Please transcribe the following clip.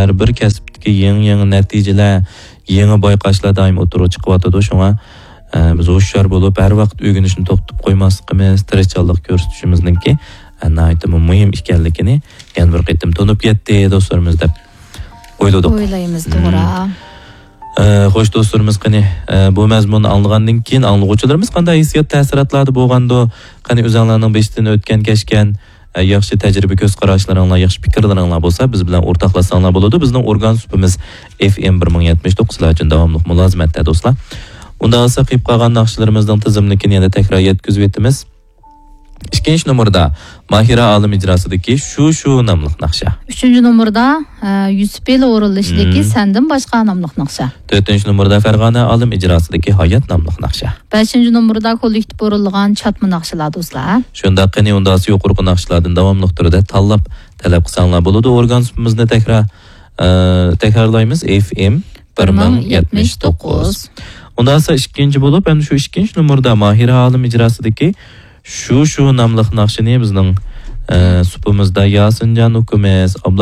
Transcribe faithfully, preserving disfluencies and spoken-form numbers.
ھەر بىر كەسىپتىكى يېڭى-يېڭى نەتىجىلەر، يېڭى بايقاشلار دائىم ئوتتۇرىغا چىقىۋاتىدۇ. شۇڭا، ئە، بىز ھوشيار بولۇپ، ھەر ۋاقىت ئۆگىنىشنى توختىتىپ قويماسلىقىمىز، تىرىشچانلىق كۆرسىتىشىمىزنىڭكى، ئە، ناھايىتىمۇ مۇھىم ئىكەنلىكىنى يەنە بىر قېتىم تونۇپ يەتتى، دوستلىرىمىز، دەپ ئويلىدۇق. ئويلايمىز، مم. توغرا. ئە، خوش، دوستلىرىمىز، قېنى، ئە، بۇ مەزمۇننى ئاڭلىغاندىن كېيىن ئاڭلىغۇچىلىرىمىز قانداق ھېسسىيات، تەسىراتلاردا بولغاندۇ؟ قېنى، ئۆزۈڭلارنىڭ بېشىدىن ئۆتكەن، كەچكەن، ئە، ياخشى تەجرىبە، كۆز قاراشلىرىڭلار، ياخشى پىكىرلىرىڭلار بولسا، بىز بىلەن ئورتاقلاشساڭلار بولىدۇ. بىزنىڭ ئورگان سۇپىمىز ئېف ئېم بىر مىڭ يەتمىش توققۇز، سىلەر ئۈچۈن داۋاملىق مۇلازىمەتتە، دوستلار. ئۇنداق بولسا، قېلىپ قالغان ناخشىلىرىمىزنىڭ تىزىملىكىنى يەنە تەكرار يەتكۈزۈۋېتىمىز. ئىككىنچى نومۇردا ماھىرە ئالىم ئىجراسىدىكى شۇ شۇ ناملىق ناخشا. ئۈچىنچى نومۇردا، ئە، يۈسۈپ ھېلى ئورۇنلىشىدىكى مم. سەندىن باشقا ناملىق ناخشا. تۆتىنچى نومۇردا فەرغانە ئالىم ئىجراسىدىكى ھايات ناملىق ناخشا. بەشىنچى نومۇردا كوللېكتىپ ئورۇنلىغان چاتما ناخشىلار، دوستلار. شۇنداق، قېنى ئۇنداقسا يۇقىرىقى ناخشىلاردىن داۋاملىق تۈردە تاللاپ تەلەپ قىلساڭلار بولىدۇ. ئورگان سۇپىمىزنى تەكرار، ئە، تەكرارلايمىز. ئېف ئېم بىر مىڭ يەتمىش توققۇز. ئۇنداقسا ئىككىنچى بولۇپ، ئەمدى شۇ ئىككىنچى نومۇردا ماھىرە ئالىم ئىجراسىدىكى شۇ شۇ ناملىق ناخشىنى بىزنىڭ، ئە، سۇپىمىزدا ياسىنجان ئۇكىمىز، ئابلا